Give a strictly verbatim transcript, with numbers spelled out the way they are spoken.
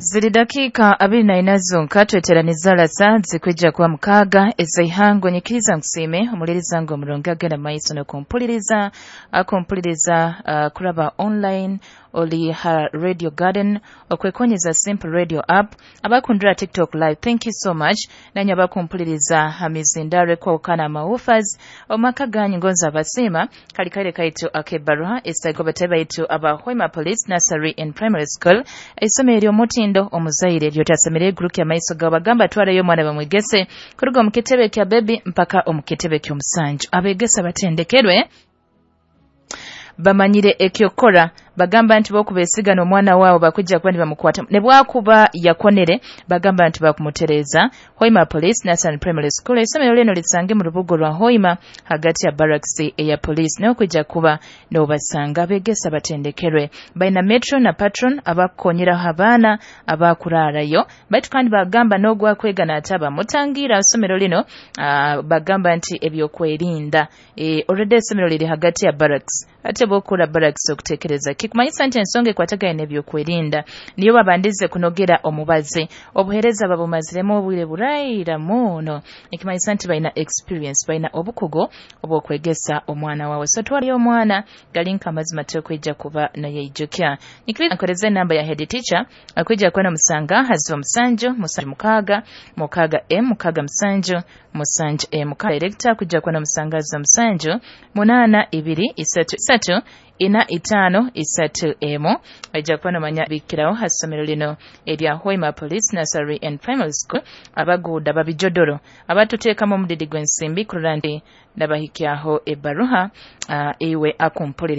Ziri dakiika abiri na ina zonka tweteraniza rasa zikwija kuba mukaaga ezaihango. Nyikiriza nkusiime omuliriza ngu omurungi agenda maiso n'okumpuliriza, akumpuliriza uh, kuraba online oli ha Radio Garden, okwekonyeza Simple Radio app, abakundira TikTok live, thank you so much. Nanyo abakumpuliriza ha mizindaro ekwawukana amawufas omaka ganyu, ngonza abasiima. Kali kaire kaitu ak'ebbaruha esaigo batabe baitu aba Hoima Police Nursery and Primary School, isomero ery'omutindo omuzaire eryotasemere guruki amaiso gawe. Bagamba twarayo omwana bamwegese kuruga omu kitebe kya bebi mpaka omu kitebe ky'omusanju. Abegesa batendekerwe, bamanyire ekyokora. Bagamba nti bokubesigana omwana waabo bakujja kuba nibamukwata ne bwakuba yakonere, bagamba nti bakumutereza. Hoima Police Nursery Primary School, isomero lino lisange mu rubugo rwa Hoima hagati ya barracks eya police, nayo kujja kuba nobasanga. Abegesa batendekerwe, baina metro na patron abakukonyeraho abaana abakuraarayo. Baitu kandi bagamba n'ogwakwega n'ataba mutangira isomero lino, uh, bagamba nti ebyokwerinda e, already isomero liri hagati ya barracks, ate bwokura barracks okutekereza kikumanyisa nti ensonga ekwatagana n'ebyokwerinda niyo babandize kunogera omubazi. Obuhereza babumaziremu obwire buraira muno, ekimanyisa nti balina experience, balina obukugu obw'okwegesa omwana wawe. So twaliyo omwana galinka amazima tekwija kuba nayeijukya. Nikiriza nkoreza enamba ya head teacher akwija kuba namusanga haziba musanju musanju mukaaga mukaaga m mukaaga musanju musanju m. Director akujja kuba namusanga haziba musanju munaana ibiri isatu isatu ina itaano isatu emu. Ajja kuba nomanya bikirawo ha ssomero lino erya Hoima Police Nursery and Primary School. Abaguuda babijodoro abatuteekamu omudidi gw'ensimbi kurora nti nabahikyaho ebbaruha uh, iwe akumpuliriza.